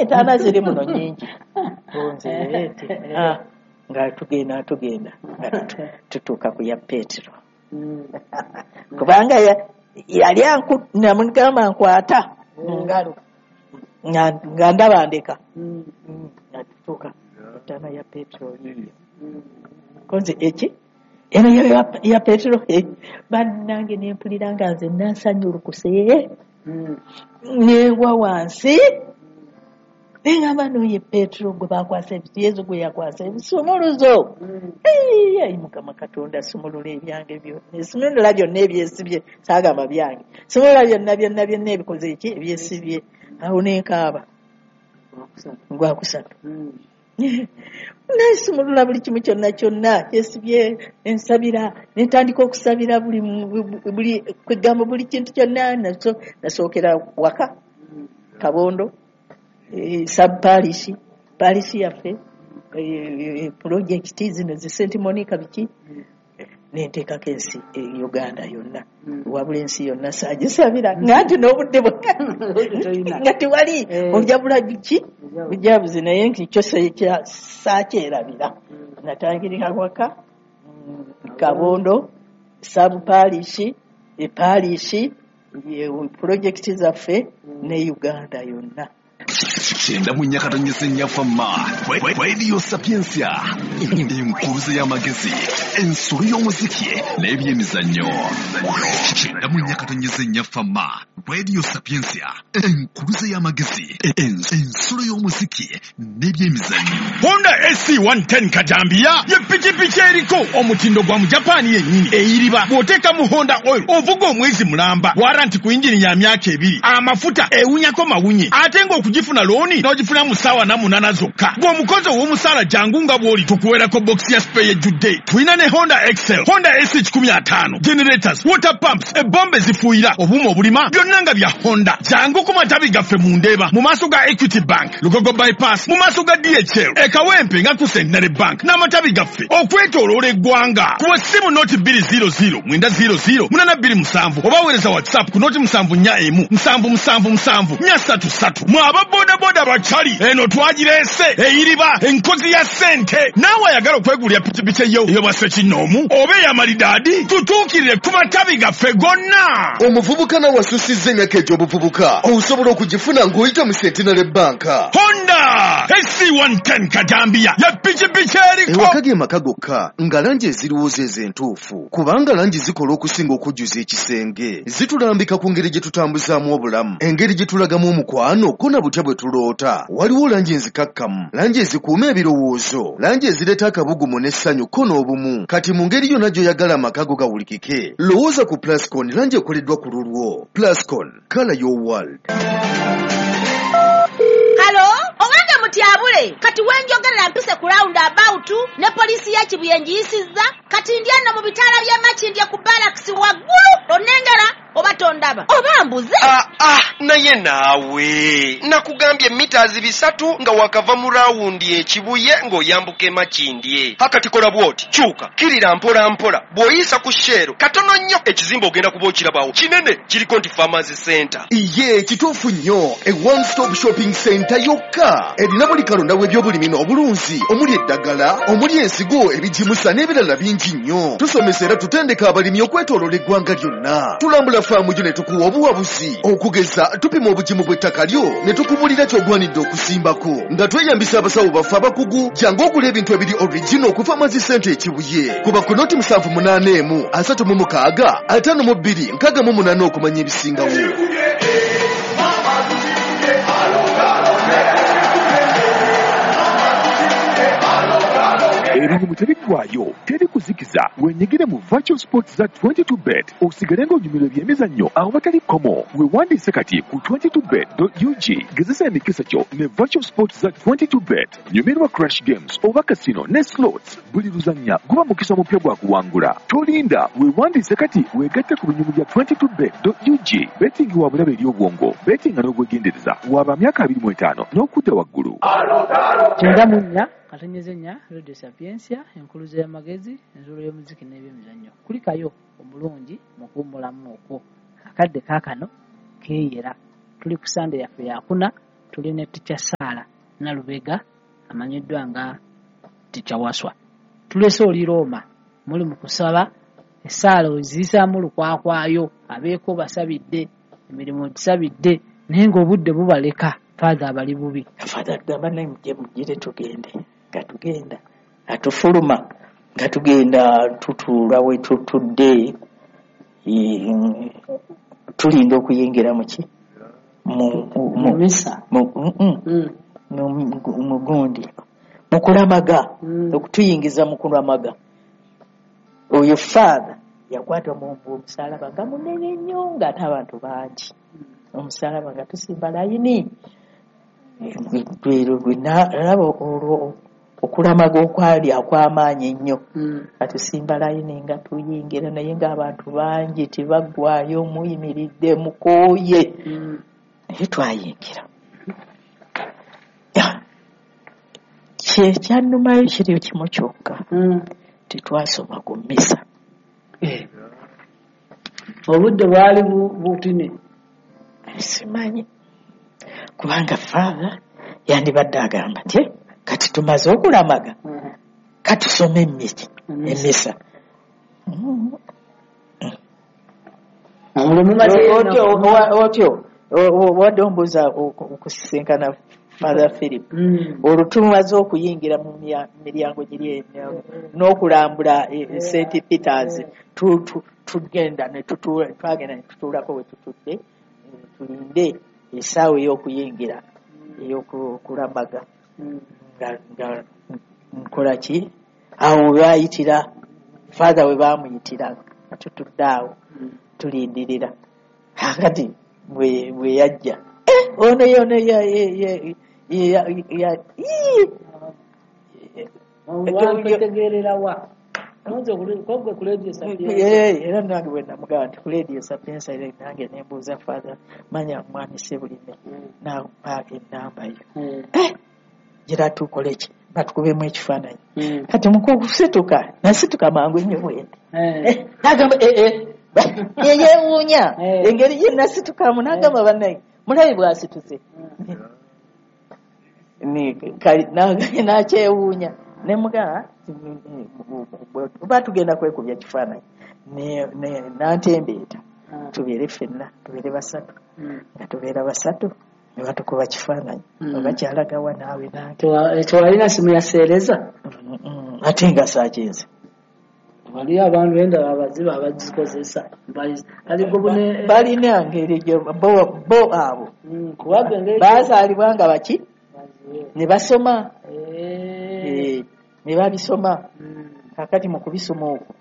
Entaana ziri muno nnyingi. Nze nga tugenda tugenda nga tutuuka ku ya Petero, kubanga yali namugamba nkwata mu ngalo nga ndaba ndeka, nga tutuuka entaana ya Petero yiyo. Konze eki eno ya Petero, bannange, nempulira nga nze nansanyulukuse, nengwa wansi, nengamba, "Noye Petero gwe bakwasa, Yezu gwe yakwasa ebisumuluzo. Ayi Mukama Katonda, sumulula ebyange byonna, sumulula byonna ebyesibye." Saagamba byange, sumulula byonna byonna byonna ebikoze eki, ebyesibye. Awo nenkaaba gwakusatu, nesumulula buli kimu kyonna kyonna kyesibye. Ensabira, nentandika okusabira buli kwegamba buli kintu kyonna. Nasookera waka Kabondo, sub parish, parish yaffe, project zino zi St Monica, biki, nenteekako ensi Uganda yonna. Wabula ensi yonna saagisabira, nga nti n'obudde nga tewali, ojabula biki bujabuzi. Naye nkikyo saakyerabira. Natangirira waka Kabondo, sub parish, eparish, project zaffe ne Uganda yonna. 94.4 Fama Radio Sapiensia, enkuruze y'amagezi, ensolo y'omuziki n'ebyemizannyo. 94.4 Fama Radio Sapiensia, enkuruze y'amagezi, ensolo y'omuziki n'ebyemizannyo. Honda SC 110 Kajambiya ye pikipiki eriko omutindo gwa mu Japaani yennyini, eyiriba bw'oteeka mu Honda oil ovuga omwezi mulamba, warranty ku yingini ya myaka 2, amafuta ewunyako mawunye, ate ng'okugifuna looni n'ogifuna mu ssaawa 48 zokka. Bw'omukozi ow'omusaala, jangu nga bw'oli, tukuweerako bokisi ya spare ejjudde. Tulina ne Honda Excel, Honda SC 150, generators, water pumps, ebombe zifuuyira, obuuma obulima, byonna nga bya Honda. Jangu ku matabi gaffe mu Ndeeba mu maaso ga Equity Bank, Lugogo Bypass mu maaso ga DHL, e Kawempe nga ku Centenary Bank, n'amatabi gaffe okwetooloola eggwanga. Kuba essimu 0 200 900 827, oba weereza WhatsApp ku 0 741 777 433. Mwe aba bodaboda bakyali, eno twagireese, eyiriba, enkozi ya ssente. Naawe ayagala okwegulira pikipiki eyo ey'obwassekinnoomu oba ey'amalidaadi, tutuukirire ku matabi gaffe gonna. Omuvubuka nawe asusizza emyaka egy'obuvubuka, osobola okugifuna ng'oyita mu Centenary Bank. Honda SC110 Kajambiya ya pikipiki eriko. Ewaka ge maka gokka nga langi eziriwo zeezo entuufu, kubanga langi zikola okusinga okujjuza ekisenge. Zitulambika ku ngeri gye tutambuzaamu obulamu, engeri gye tulagamu omukwano, ko na butya bwe tuloota. Waliwo langi enzikakkamu, langi ezikuuma ebirowoozo, langi ezireeta akabugumu n'essanyu ko n'obumu. Kati mu ngeri yonna gy'oyagala amaka go gawulikike, lowooza ku Plascon, langi ekoleddwa ku lulwo. Plascon, color your world. Hello, owange mutyabule, kati wenjogerera mpise ku round about ne poliisi ya Kibuye ngiyisizza. Kati ndi eno mu bitaala by'e Makindye ku barracks waggulu. Onnengera oba tondaba oba mbuze? Ah, ah, naye naawe nakugambye mita 300 nga wakava mu rawundi ekibuye ng'oyambuka emakindye. Akati kola bw'oti, kyuka kirira mpola mpola, bw'oyisa ku Shell katono nnyo, ekizimbe ogenda kuba okirabawo kinene, kiriko nti Farmers Center. Ye kituufu nnyo, e one stop shopping center yokka erina buli kalonda w'ebyobulimi n'obulunzi, omuli eddagala, omuli ensigo, ebigimusa n'ebirala bingi nnyo. Tusomesa era tutendeka abalimi okwetooloola eggwanga lyonna. Tulambula faamu gyo ne tukuwa obuwabuzi. Okugeza, tupima obugimu bw'ettaka lyo ne tukubulira ky'ogwanidde okusimbako nga tweyambisa abasawo baffe abakugu. Jangu ogula ebintu ebiri original ku Farmers Center Ekibuye. Kuba ku 0 781 36 52 68 okumanya ebisingawo. Ebinyumu tebiggwayo, teri kuzikiza. Wenyigire mu virtual sports za 22 Bet, osigale ng'onyumirwa ebyemizannyo awatali kkomo. Weewandiise kati ku 22bet.ug. Gezesa emikisa gyo ne virtual sports za 22 Bet. Nyumirwa crash games oba casino ne slots. Buli luzannya guba mukisa mupya gwa kuwangula. Tolinda, weewandiise kati, weegatte ku binyumu bya 22bet.ug. Betting wa bulabe eri obwongo. Bettinga n'obwegendereza. Waba myaka 25 n'okudda waggulu. 94.4 Radio Sapiensia, enkuluze y'amagezi, enzuulo y'omuziki n'ebyemizannyo. Kulikayo omulungi mu kuwummulamu okwo. Akadde kaakano keeyera, tuli ku Sande yaffe yakuna. Tuli ne Ticca Sarah Nalubega amanyiddwa nga Ticca Waswa. Tulese oli Roma, muli mu kusaba, essaala oziyisaamu lukwakwayo, abeeko basabidde, emirimu ogisabidde, naye ng'obudde bubaleka, Father abali bubi. Father agamba naye mujje mugire tugende, nga tugenda, atufuluma, nga tugenda tutuula we tutudde, tulinda okuyingira mu ki? Mu misa. Mu gundi. Mu kulamaga, okutuyingiza mu kulamaga. Oyo Father yakwata omusalaba nga munene nnyo ng'ate abantu bangi. Omusalaba nga tusimba layini. Nalaba olwo okulamaga okwali akw'amaanyi ennyo. Nga tusimba layini nga tuyingira naye ng'abantu bangi tebaggwaayo, muyimiridde mukooye. Naye twayingira. Kyannumayo kiri kimu kyokka. Tetwasoma ku mmisa. Obudde bwali butini. Simanyi. Kubanga Father yandibadde agamba nti kati tumaze okulamaga, katusome emmisa. Otyo wadde ombuuza okusisinkana Father Philip. Olwo tumaze okuyingira mu miryango giri n'okulambula St. Peters, tugenda ne tutuula, twagenda ne tutuulako we tutudde, tulinde essaawa ey'okuyingira ey'okulamaga. Nga nkola ki? Awo we baayitira, Father we baamuyitira, nga tutudde awo tulindirira. Kakati bwe yajja, ono yono ya era nange bwe namugamba nti ku Radio Sapientia era nange ne mbuuza Father manya mwami Ssebulime n'ampa ennamba yo. Gira tukole ki? Batukubemu ekifaananyi. Kati mu kusituka, nasituka mangu nnyo bwe nti. N'agamba yeewuunya engeri gye nasitukamu, n'agamba bannaye mulabe bw'asituse. N'akyewuunya. Ne mugamba oba tugenda kwekubya kifaananyi. N'antembeeta tubeere ffenna, tubeere basatu. Nga tubeera basatu ne batukuba kifaananyi. Oba kyalagawa naawe nange. Tewalina simu ya seereza? Ate nga saakinze. Waliyo abantu endala abazibu abagikozesa. Balina ngeri bo abo. Baazaalibwa nga baki? Ne basoma. Ne babisoma. Kakati mu kubisoma okwo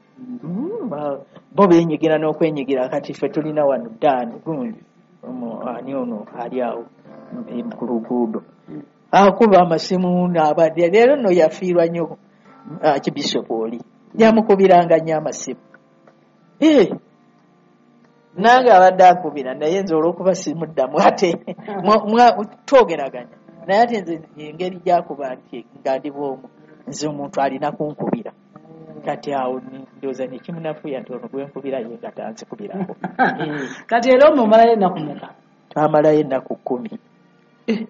bo beenyigira n'okwenyigira. Kati ffe tulina wano Dan gundi ani ono ali awo ku luguudo akuba amasimu n'abadde. Leero nno yafiirwa nnyo Archbishop oli yamukubiranga nnyo amasimu. Nange abadde akubira naye nze olw'okuba simuddamu ate twogeraganya naye ate nze engeri gy'akuba nti nga ndi bw'omu nze omuntu alina kunkubira. Kati awo ndowooza ne kimunafuya nti ono gwe nkubira ye nga tanzikubirako. Kati era omumalayo ennaku mmeka? Twamalayo ennaku 10.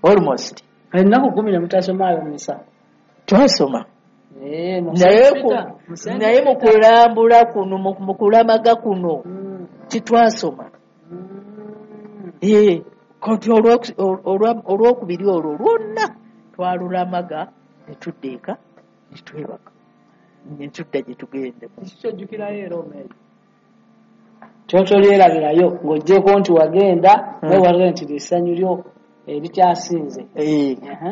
Almost. Ennaku 10 ne mutasomaayo mmisa? Twasoma. Naye mu kulambula kuno, mu kulamaga kuno titwasoma. Kati olwokubiri olwo lwonna twalulamaga ne tudda eka ne twebaka ne tudda gye tugenda. Kyojjukirayo era omeeri kyotolyerabirayo ng'oggyeko nti wagenda naye wagenda nti essanyu lyo erikyasinze.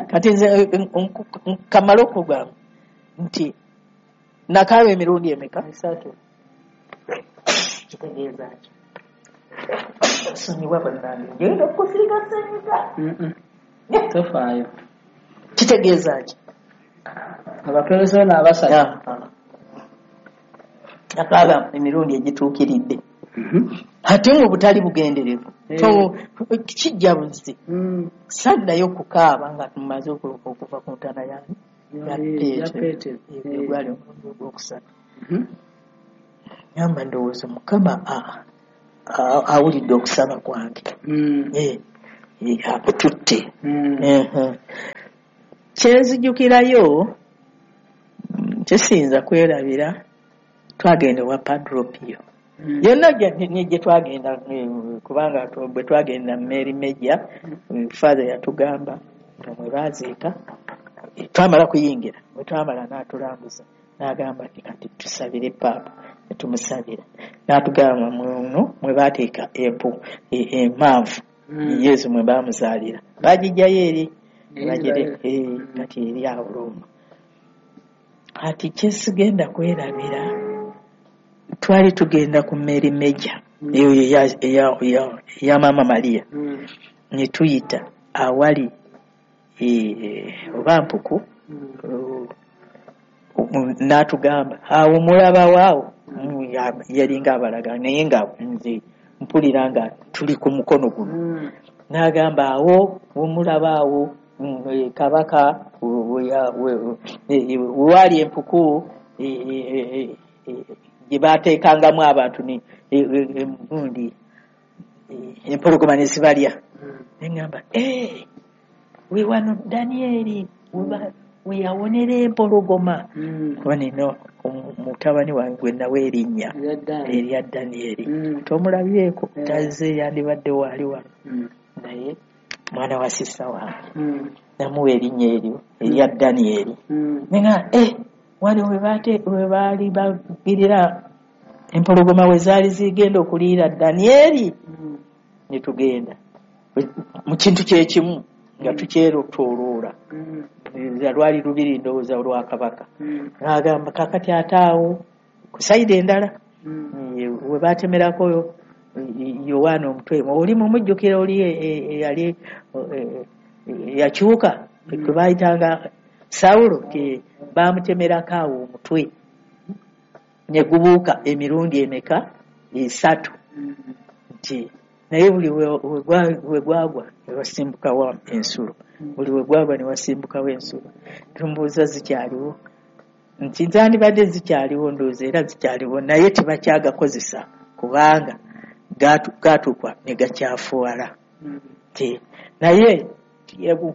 Kati nze kamala okugamba nti nakaaba emirundi emeka? 3. Kitegeeza ki? Sonyiwa bannange, ngenda okusiiga ssenyiga. Tofaayo. Kitegeeza ki? Abaperesa n'abasatu. Nakaaba emirundi egituukiridde. Ate mu butali bugenderevu. Kijja buzi. Saddayo kukaaba nga tumaze okuva ku ntaana yange. Ya Petero. Gwali omulundi ogwokusatu. Ngamba ndowooza Mukama awulidde okusaba kwange. Akututte. Kyenzijukirayo kyesiyinza kwerabira, twagenda ewa Padre Pio. Yonna gye twagenda, kubanga bwe twagenda Mary Major, Father yatugamba nga mwe baaziika. Twamala kuyingira, bwe twamala n'atulambuza n'agamba nti kati tusabire paapa, ne tumusabira. N'atugamba muno mwe baateeka empanvu Yesu mwe baamuzaalira, baagijjayo eri kati eri awo Roma. Kati kyesigenda kwerabira, twali tugenda ku Mary Major eyo eya Maama Maria, ne tuyita awali oba mpuku, n'atugamba awo mulabawo awo, yalinga abalaga naye nga nze mpulira nga tuli ku mukono guno. N'agamba awo womulaba awo kabaka wewali empuku gye baateekangamu abantu gundi empologoma ne zibalya. Ne ŋŋamba we wano Danieri we yawonera empologoma, kuba nina mutabani wange gwe nawa erinnya erya Danieri, tomulabyeko, tazze, yandibadde waali wano, naye mwana wa sista wange namuwa erinnya eryo erya Danieri. Ne ŋŋamba wano we baali bagirira empologoma we zaali zigenda okuliira Danieri. Ne tugenda mu kintu kyekimu nga tukyerotoloola, lwali lubiri ndowooza lwa kabaka. N'agamba kakati ate awo ku sayidi endala we baatemerako Yowaana omutwe, oli mumujjukira oli eyali yakyuka gwe baayitanga Sawulo, baamutemerako awo omutwe ne gubuuka emirundi emeka? 3. Nti naye buli we gwagwa ne wasimbukawo ensulo, buli we gwagwa ne wasimbukawo ensulo. Tumbuuza zikyaliwo, nti zandibadde zikyaliwo, ndowooza era zikyaliwo, naye tebakyagakozesa kubanga gaatuukwa ne gakyafuwala. Naye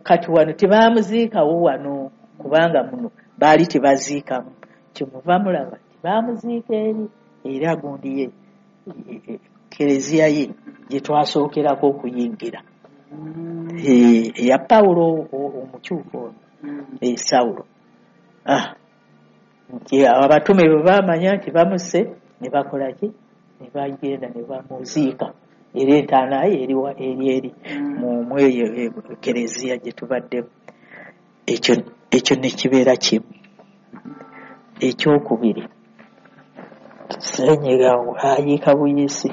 kati wano tebaamuziikawo wano, kubanga muno baali tebaziikamu, kyemuva mulaba tebaamuziika eri era gundi ye kereziya ye gye twasookerako okuyingira eya Pawulo omukyufu ono, Sawulo. Nti abatume bwe baamanya nti bamusse ne bakola ki? Ne bagenda ne bamuziika, era entaana ye eri eri mu eyo kereziya gye tubaddemu. Ekyo ne kibeera kimu. Ekyokubiri, Ssenyiga ayiika buyiisi.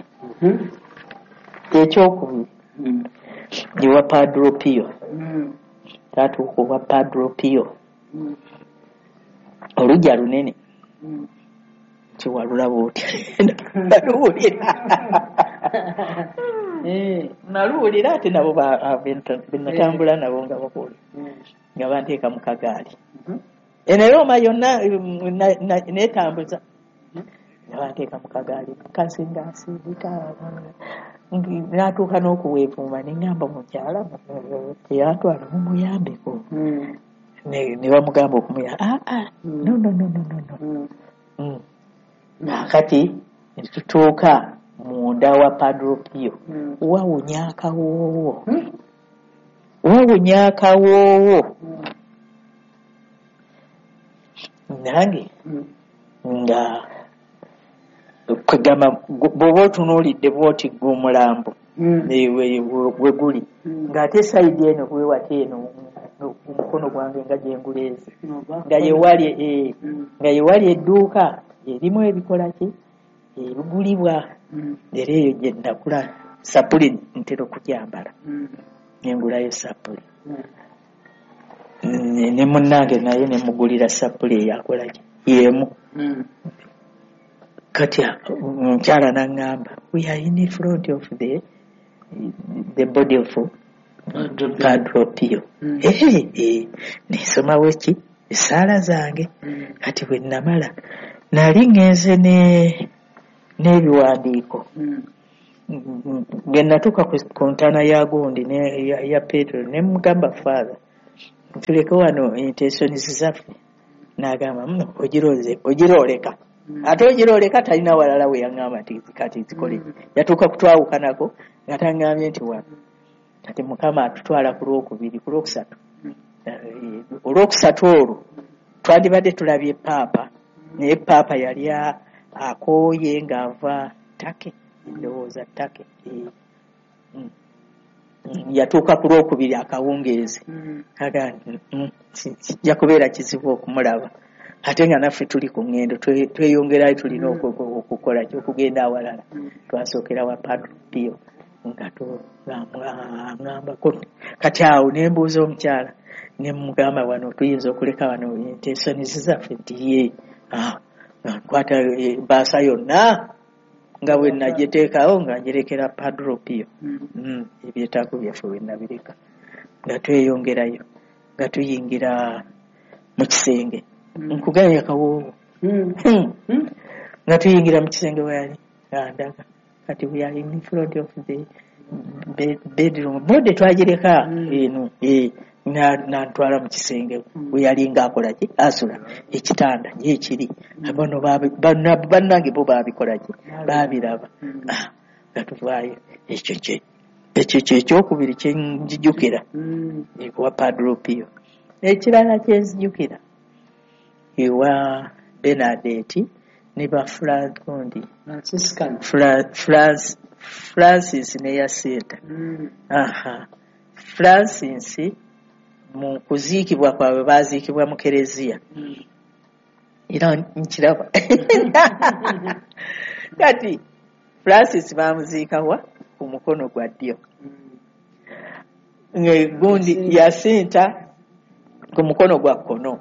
Ekyokubiri ewa Padre Pio, twatuuka owa Padre Pio, oluggya lunene nti walulaba otya? Naluwulira, naluwulira ate nabo benatambula nabo nga bakola nga banteeka mu kagaali eno Roma yonna neetambuza, nga banteeka mu kagaali mukazi ng'asindika, natuuka n'okuweevuuma ne ŋŋamba mukyala teyantwala mumuyambeko, ne bamugamba okumuyamba, no no no no no. Kati ne tutuuka munda wa Padre Pio, wawunya akawoowo, wawunya akawoowo. Nange nga kwegamba bw'oba otunuulidde bw'oti gwe omulambo we guli, ng'ate sayidi eno bwewati eno omukono gwange nga gye nguleeze, nga yewali edduuka erimu ebikola ki ebigulibwa, era eyo gye nakula sapuli ntera okugyambala, nengulayo sapuli ne munnange naye ne mugulira sapuli eyakola ki y'emu. Kati omukyala n'aŋŋamba we are in front of the body of Padre Pio. Nensomawo ki essaala zange. Kati bwe namala nali ŋŋenze n'ebiwandiiko Bwe natuuka ku ntaana ya gundi ya Petero, ne mugamba, "Father, tuleke wano intentions zaffe." N'agamba, "Ogiroze ogirooleka." Ate ogirooleka talina walala we yaŋŋamba nti kati zikole. Yatuuka kutwawukanako nga taŋŋambye nti wano. Kati Mukama atutwala ku lwokubiri, ku lwokusatu. Olwokusatu olwo twandibadde tulabye paapa, naye paapa yali akooye ng'ava Take, ndowooza Take. Yatuuka ku lwokubiri akawungeezi. Aga nti, kijja kubeera kizibu okumulaba, ate nga naffe tuli ku ŋŋendo tweyongerayo, tulina okukola ki, okugenda awalala. Twasookera wa Padre Pio nga aŋŋambako. Kati awo ne mbuuza omukyala, ne mugamba, "Wano tuyinza okuleka wano intentions zaffe?" Nti ye. Ah, nga nkwata ebbaasa yonna nga bwe nagiteekawo nga ngirekera Padre Pio. Ebyetaago byaffe bwe nabireka, nga tweyongerayo, nga tuyingira mu kisenge. Nkugambye akawoowo. Nga tuyingira mu kisenge we yali, nga ndaga kati we are in front of the bedroom, body twagireka eno. Nantwala mu kisenge we yali ng'akola ki, asula, ekitanda gyekiri. Bano bannange bo baabikola ki, baabiraba. Ah, nga tuvaayo. Ekyo kye ekyo kyekyokubiri kyenjijukira ewa Padre Pio. Ekirala kyenzijukira ewa Bernadette ne ba Francondi. Franciscan. Francis ne Yasinta. Aha, Francis mu kuziikibwa kwabwe baziikibwa mu kereziya. Era nkiraba kati Francis bamuziikawa ku mukono gwa ddyo, gundi Yasinta ku mukono gwa kkono.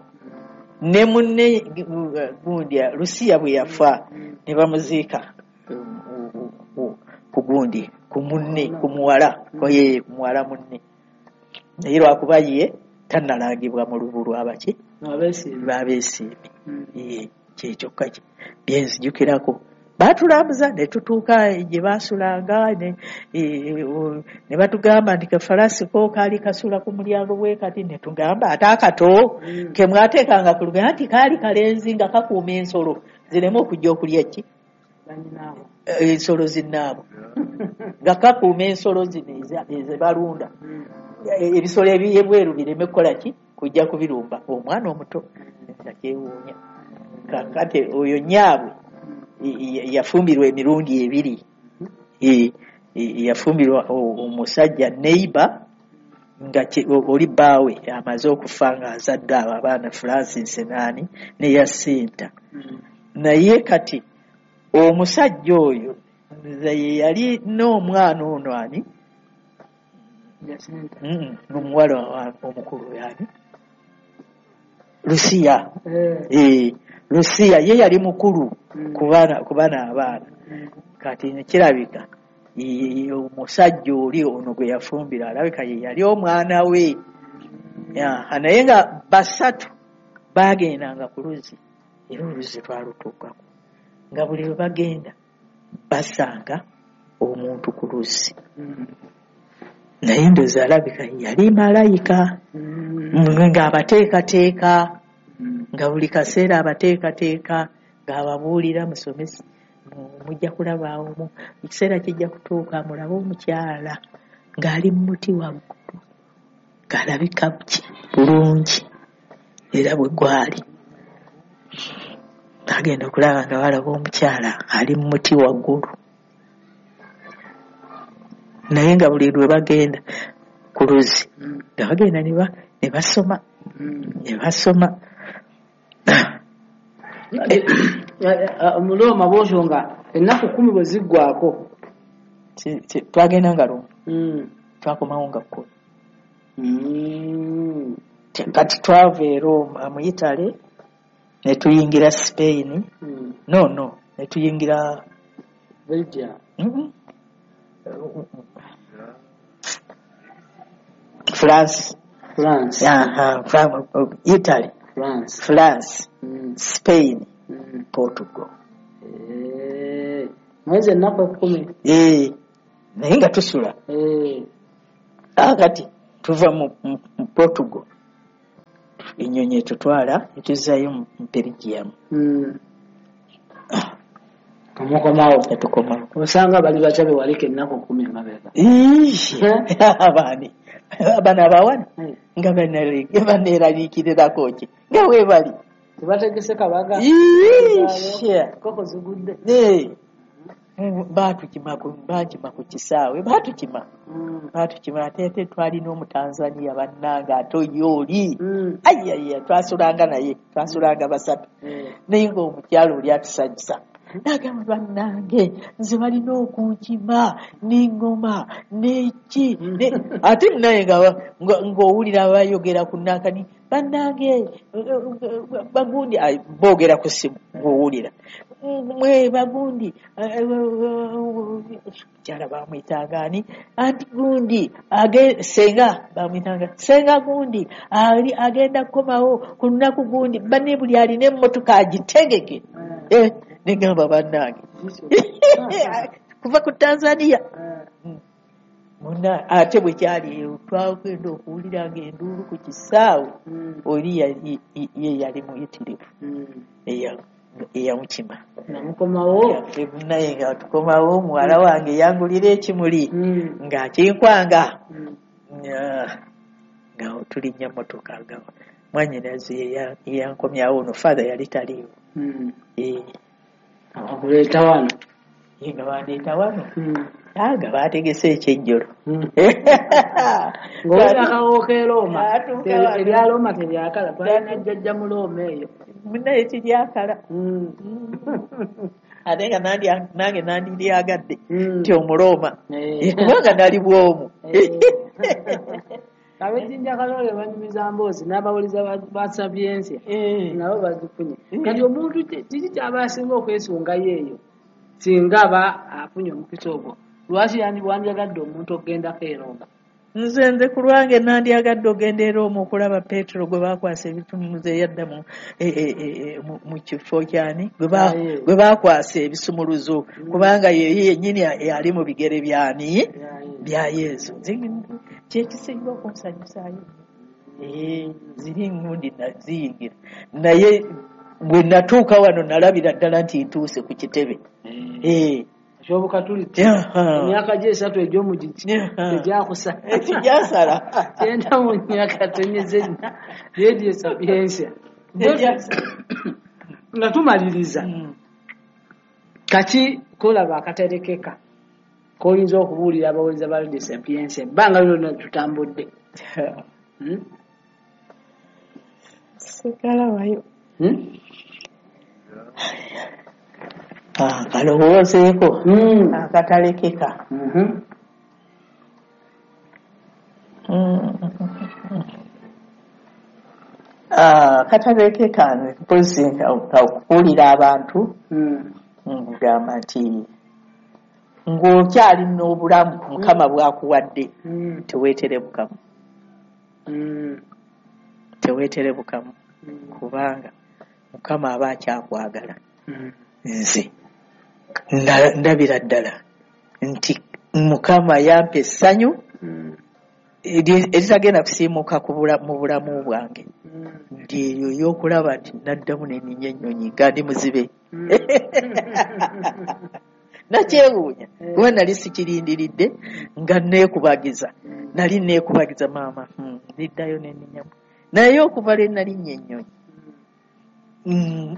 Ne munne gundi Lusiya bwe yafa ne bamuziika ku gundi, ku munne, ku muwala, ye ku muwala munne, naye lwakuba ye tannalangibwa mu lubu lwabaki. Abeesiimi. Babeesiimi. Ye kyekyokka byenzijukirako. Baatulambuza ne tutuuka gye baasulanga ne batugamba nti kafalasi ko kaali kasula ku mulyango bwe kati. Ne tugamba, "Ate akato ke mwateekanga ku lugendo?" Nti kaali kalenzi nga kakuuma ensolo zireme okujja okulya ki. Banyinaabo. Ensolo zinnaabo, nga kakuuma ensolo zino ezebalunda, ebisolo ebyebweru bireme kukola ki, kujja kubirumba. Omwana omuto nga kyewuunya. Kakati oyo nyaabwe yafumbirwa emirundi ebiri. Yafumbirwa omusajja neighbor nga oli bbaawe amaze okufa nga azadde abo abaana Francis naani ne Yasinta. Naye kati omusajja oyo nze ye yali n'omwana ono ani. Jacinta. Omuwala omukulu yani Lusiya. Lusiya ye yali mukulu ku baana abaana. Kati kirabika omusajja oli ono gwe yafumbira alabika ye yali omwana we. Naye nga basatu baagendanga ku luzzi, era oluzzi twalutuukako nga buli lwe bagenda basanga omuntu ku luzzi. Naye ndowooza alabika yali malayika ng'abateekateeka, nga buli kaseera abateekateeka, ng'ababuulira, "Musomesi, mujja kulaba omu, ekiseera kijja kutuuka mulabe omukyala ng'ali mu muti waggulu ng'alabika ki bulungi." Era bwe gwali bagenda okulaba nga balaba omukyala ali mu muti waggulu, naye nga buli lwe bagenda ku luzzi nga bagenda ne basoma ne basoma. Mu Rooma bwotyo nga ennaku 10 bwe ziggwako. Twagenda nga lumu, twakomawo nga 10. Kati twava e Roma mu Italy ne tuyingira Spain. No, ne tuyingira Belgium. France. France. Aha, Italy. France. France, Spain, Portugal. Mwezi ennaku 10. Eh, Naye nga tusula. Kati tuva mu Portugal, ennyonyi etutwala etuzaayo mu Belgium. Omukomawo. Etukomawo. Osanga bali batya be waleka ennaku 10 emabega? Abaani bano abawana nga baneeraliikirirako ki nga weebali tebategese kabaga, koko zigudde. Baatukima ku kisaawe, baatukima ate twalina Omutanzania bannange ate oyo oli ayaya, twasulanga naye, twasulanga basatu, naye ng'omukyalo oli atusanyusa. Nagamba bannange nze balina okunkima n'engoma n'eki, ate naye ng'owulira bayogera ku nankani, bannange bagundi boogera ku ssimu ng'owulira mwe bagundi, mukyala bamwyitanga ani, anti gundi senga bamwyitanga senga gundi ali agenda kukomawo ku lunaku gundi, banne buli alina emmotoka agitegeke. Negamba bannange kuva ku Tanzania muna, ate bwe kyali twagenda okuwulira ng'enduulu ku kisaawe, oli ye yali muyitirivu eyamukima namukomawo. Naye nga tukomawo, muwala wange yangulira ekimuli ng'akinkwanga nga tulinnya mmotoka, nga mwannyinaze yankomyawo, ono father yali taliiwo. Abakuleeta wano nga bandeeta wano nga baategese ekyejjolo. Ng'owulira akawoowo k'e Rooma, erya Rooma teryakala, twalina jjajja mu Rooma eyo. Naye teryakala. Ate nga nange nandiryagadde nti Omurooma, kubanga nali bwomu. Ab'ejjinja Kaloole banyumiza mboozi n'abawuliza ba Sapientia nabo bazifunye. Kati omuntu kiki ky'aba asinga okwesungayo eyo singa aba afunye omukisa ogwo? Lwaki wandyagadde omuntu okugendako e Rooma? Nze ku lwange nandyagadde ogenda e Rooma okulaba Petero gwe baakwasa ebisumuluzo eyadda mu kifo kyani gwe baakwasa ebisumuluzo, kubanga ye yennyini ali mu bigere byani bya Yesu. Kyekisinga okunsanyusaayo. Ziri ngundi naziyingira, naye bwe natuuka wano nalabira ddala nti ntuuse ku kitebe. Ekyobukatuliki emyaka gye 3 egy'omugigi tegyakusala, tegyasala 94 Radio Sapientia. Nga tumaliriza, kaki kolaba akaterekeka k'oyinza okubuulira abawuliza ba Radio Sapientia ebbanga lyonna tutambudde? Sikalabayo. Kalowoozeeko akatalekeka. Katalekeka mpozi okuwulira abantu ngamba nti ng'okyali n'obulamu Mukama bw'akuwadde, teweetere bukamu. Teweetere bukamu kubanga Mukama aba akyakwagala. Nze ndabira ddala nti Mukama yampa essanyu eritagenda kusiimuuka mu bulamu bwange, nti eyo ey'okulaba nti naddamu ne nninnya ennyonyi nga ndi muzibe. Nakyewuunya kuba nali sikirindiridde, nga neekubagiza, nali neekubagiza maama niddayo ne nninnyamu, naye okuva lwe nalinnya ennyonyi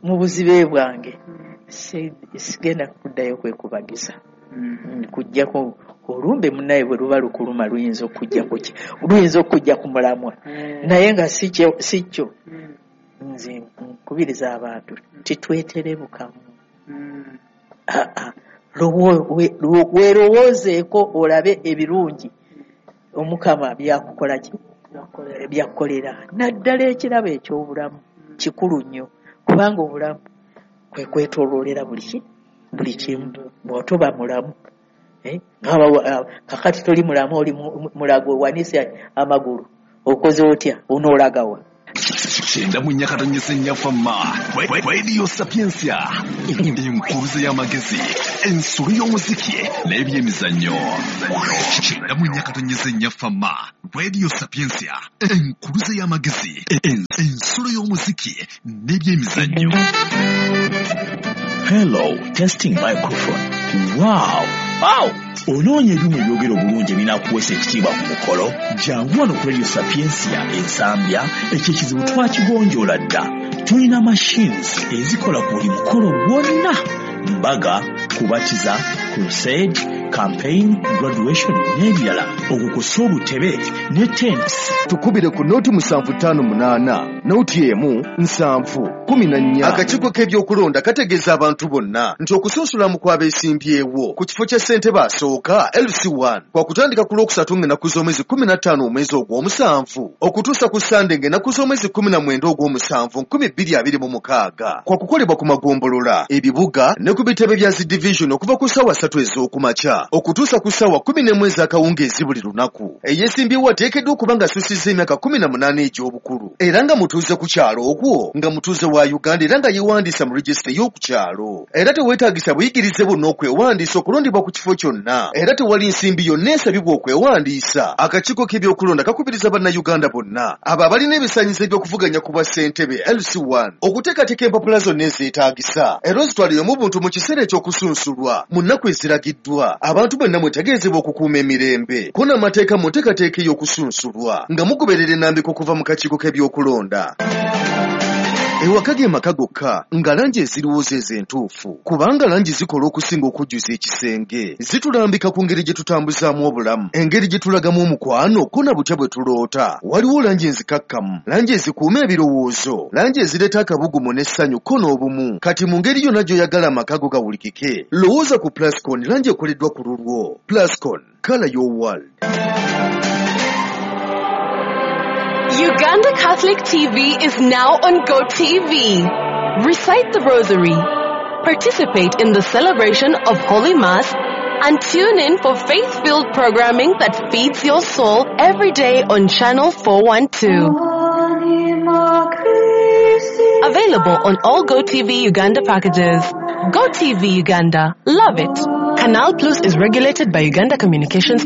mu buzibe bwange sigenda kuddayo kwekubagiza, kujjako olumbe munnaye bwe luba lukuluma luyinza okujja ku mulamwa, naye nga si kyo. Nze nkubiriza abantu titwetere bukamu. Weerowoozeeko olabe ebirungi Omukama byakukola ki, byakukolera, naddala ekirabo eky'obulamu kikulu nnyo, kubanga obulamu kwe kwetooloolera buli kimu. Bw'otoba mulamu kakati toli mulamu, oli mulago owanise amagulu, okoze otya, onoolagawa? 94.4 Fama Radio Sapientia, enkuruze y'amagezi, ensolo y'omuziki n'ebyemizannyo. 94.4 Fama Radio Sapientia, enkuruze y'amagezi, ensolo y'omuziki n'ebyemizannyo. Hello, testing microphone. Wow! Wow! Onoonya ebyuma ebyogera obulungi ebinaakuweesa ekitiibwa ku mukolo? Jangu wano ku Radio Sapientia Ensambya, ekyo ekizibu twakigonjoola dda. Tulina machines ezikola ku buli mukolo gwonna: mbaga, kubatiza, crusade, campaign, graduation n'ebirala. Okwo kw'ossa obutebe ne tents. Tukubire ku noti 758 noti 1 7 14. Akakiiko k'ebyokulonda kategeeza abantu bonna nti okusunsulamu kw'abeesimbyewo ku kifo kya ssentebe asooka LC1 kwa kutandika ku Lwokusatu ng'ennaku z'omwezi 15 omwezi ogw'omusanvu okutuusa ku Ssande ng'ennaku z'omwezi 19 ogw'omusanvu 2026, kwa kukolebwa ku magombolola, ebibuga ne ku bitebe bya zi division okuva ku ssaawa 3 ez'okumakya okutuusa ku ssaawa 11 ez'akawungeezi buli lunaku. Eyeesimbyewo ateekeddwa okuba ng'asusizza emyaka 18 egy'obukulu era nga mutuuze ku kyalo okwo, nga mutuuze wa Uganda era nga yeewandiisa mu regisita ey'oku kyalo. Era teweetaagisa buyigirize bwonna okwewandiisa okulondebwa ku kifo kyonna, era tewali nsimbi yonna esabibwa okwewandiisa. Akakiiko k'ebyokulonda kakubiriza Bannayuganda bonna abo abalina ebisaanyizo eby'okuvuganya ku bwa ssentebe LC1 okuteekateeka empapula zonna ezeetaagisa era ozitwaleyo mu buntu mu kiseera eky'okusunsulwa mu nnaku eziragiddwa. Abantu bonna mwetegeezebwa okukuuma emirembe ko n'amateeka mu nteekateeka ey'okusunsulwa nga mugoberera ennambika okuva mu kakiiko k'ebyokulonda. Ewaka ge maka gokka nga langi eziriwo zeezo entuufu, kubanga langi zikola okusinga okujjuza ekisenge. Zitulambika ku ngeri gye tutambuzaamu obulamu, engeri gye tulagamu omukwano ko na butya bwe tuloota. Waliwo langi enzikakkamu, langi ezikuuma ebirowoozo, langi ezireeta akabugumu n'essanyu ko n'obumu. Kati mu ngeri yonna gy'oyagala amaka go gawulikike, lowooza ku Plascon, langi ekoleddwa ku lulwo. Plascon, color your world. Uganda Catholic TV is now on GoTV. Recite the Rosary, participate in the celebration of Holy Mass, and tune in for faith-filled programming that feeds your soul every day on Channel 412. Available on all GoTV Uganda packages. GoTV Uganda. Love it. Canal Plus is regulated by Uganda Communications Commission.